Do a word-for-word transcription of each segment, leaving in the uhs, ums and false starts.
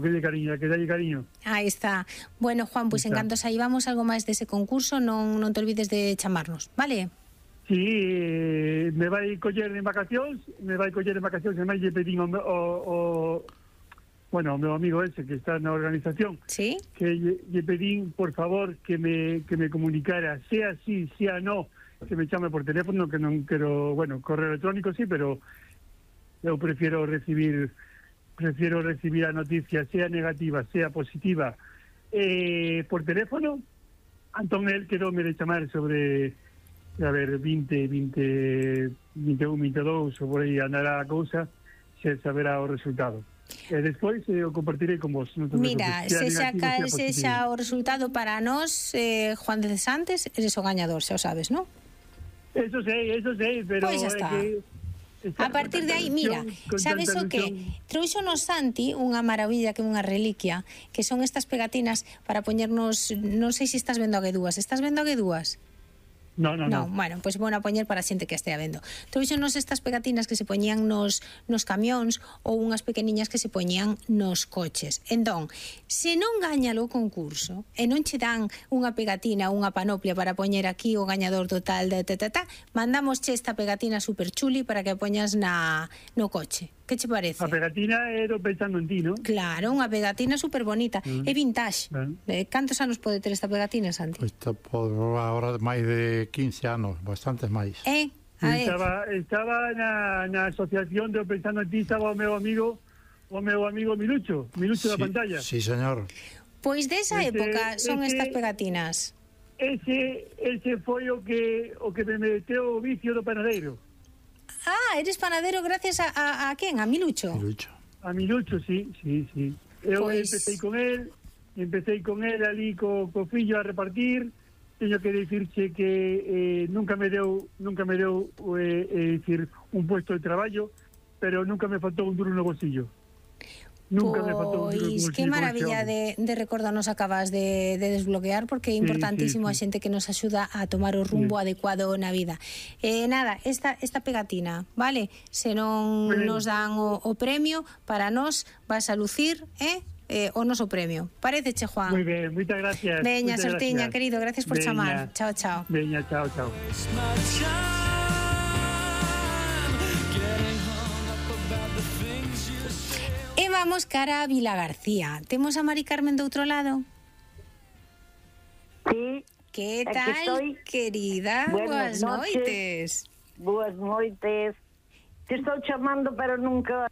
que de cariño, que dalle cariño. Aí está. Bueno, Juan, pois pues en canto saíbamos algo máis dese concurso, non non te olvides de chamarnos, vale? Sí, me vai coller en vacacións, me vai coller en vacacións, e máis lle pedín o, o, o bueno, o meu amigo ese que está na organización, ¿sí? Que lle, lle pedín, por favor, que me que me comunicara, sea sí, sea no, que me chame por teléfono, que non quero, bueno, correo electrónico sí, pero eu prefiero recibir prefiero recibir a noticia, sea negativa, sea positiva, eh, por teléfono. Antón, él quedou me de chamar sobre, a ver, veinte, veinte, veintiún, veintidós, ou por aí andará a cousa, se saberá o resultado. E despois eh, o compartirei con vos. Non Mira, se xa cal se xa o resultado para nós, eh, Juan de Cesantes, eres o gañador, xa o sabes, non? Eso sei, eso sei, pero pois pues está. É que a partir de aí, mira, sabes o que? Trouxonos Santi unha maravilla que é unha reliquia, que son estas pegatinas para poñernos, non sei se estás vendo a guedúas, estás vendo a guedúas? No, no, no. No, bueno, pois pues bueno a poñer para a xente que estea vendo. Trouxonos estas pegatinas que se poñían nos, nos camións ou unhas pequeniñas que se poñían nos coches. Entón, se non gaña o concurso e non che dan unha pegatina, unha panoplia para poñer aquí o gañador total de ta, mandamos che esta pegatina super chuli para que a poñas na, no coche. Que che parece? A pegatina era pensando en ti, non? Claro, unha pegatina super bonita. Mm. É vintage. Mm. Eh, cantos anos pode ter esta pegatina, Santi? Pois pues, por ahora máis de quince anos, bastantes máis. Eh? Estaba, estaba na, na asociación de Pensando en ti, estaba o meu amigo, o meu amigo Milucho, Milucho sí, da pantalla. Sí, señor. Pois desa ese, época son ese, estas pegatinas. Ese, ese foi o que o que me meteu o vicio do panadeiro. Ah, eres panadero gracias a, a, a quen? A Milucho? Milucho. A Milucho, sí, sí, sí. Eu pues... empecé con él, empecé con él ali co, co fillo a repartir. Teño que dicirche que eh, nunca me deu, nunca me deu eh, eh, decir, un puesto de traballo, pero nunca me faltou un duro no bolsillo. Nunca pois, me faltou un duro no bolsillo. Que maravilla de, de recordo nos acabas de, de desbloquear, porque é importantísimo sí, sí, sí. a xente que nos axuda a tomar o rumbo sí. adecuado na vida. Eh, nada, esta, esta pegatina, vale? Se non sí. nos dan o, o premio, para nós vas a lucir, eh? Eh, o noso premio. Paréceche, Juan? Moi ben, moitas gracias. Veña, muchas sortiña, gracias. querido, gracias por Veña. chamar. Chao, chao. Veña, chao, chao. E vamos cara a Vilagarcía. Temos a Mari Carmen do outro lado? Sí. Que tal, querida? Buenas noites. Boas noites. Te estou chamando, pero nunca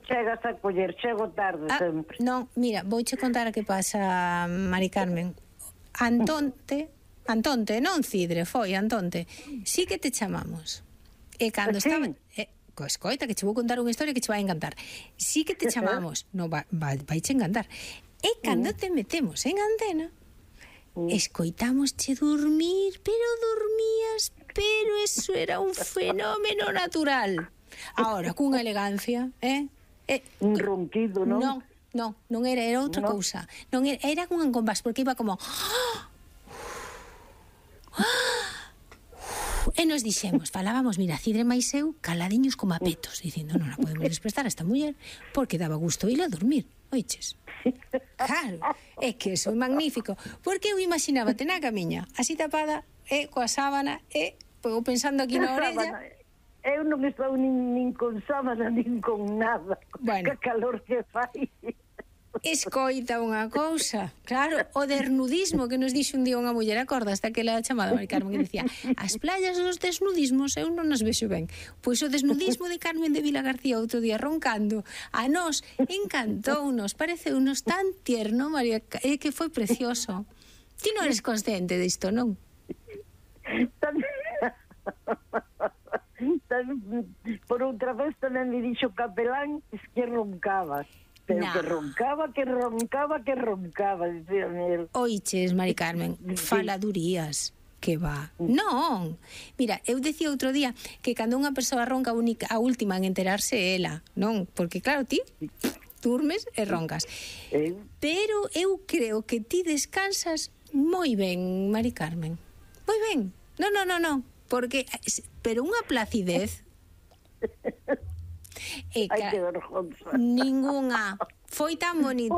chegas a coller, chego tarde ah, sempre. Non, mira, vouche contar a que pasa, Mari Carmen. Antonte, Antonte, non Cidre, foi Antonte. Sí que te chamamos. E cando sí. estaba... Eh, Escoita, que che vou contar unha historia que che vai encantar. Sí que te chamamos, no, vai, vai, vai che encantar. E cando te metemos en antena, escoitamos che dormir, pero dormías, pero eso era un fenómeno natural. Ahora, cunha elegancia, eh? eh un ronquido, non? Non, non, non era, era outra no. cousa. Non era, era cun compás, porque iba como... E nos dixemos, falábamos, mira, Cidre máis eu, caladiños como a petos, dicindo, non a podemos desprestar a esta muller, porque daba gusto ir a dormir, oiches? Claro, é que eso é magnífico, porque eu imaginábate na camiña, así tapada, e coa sábana, e eu pensando aquí na orella... Eu non estou nin, nin con sábana, nin con nada, bueno. Que calor que fai... Escoita unha cousa, claro, o desnudismo que nos dixo un día unha muller, acorda hasta que la chamada Mari Carmen que dicía, as playas dos desnudismos eu non nos vexo ben. Pois o desnudismo de Carmen de Vilagarcía outro día roncando, a nós encantounos, pareceunos tan tierno, María, é que foi precioso. Ti non eres consciente disto, non? Por outra vez tamén me dixo capelán que roncabas. Pero nah. que roncaba, que roncaba, que roncaba, dicía él. Oiches, Mari Carmen, faladurías. Que va. Non. Mira, eu decía outro día que cando unha persoa ronca a, única, a última en enterarse é ela, non? Porque claro, ti durmes e roncas. Pero eu creo que ti descansas moi ben, Mari Carmen. Moi ben. Non, non, non, non. Porque, pero unha placidez... E Ai, que vergonza. Ningunha Foi tan bonito.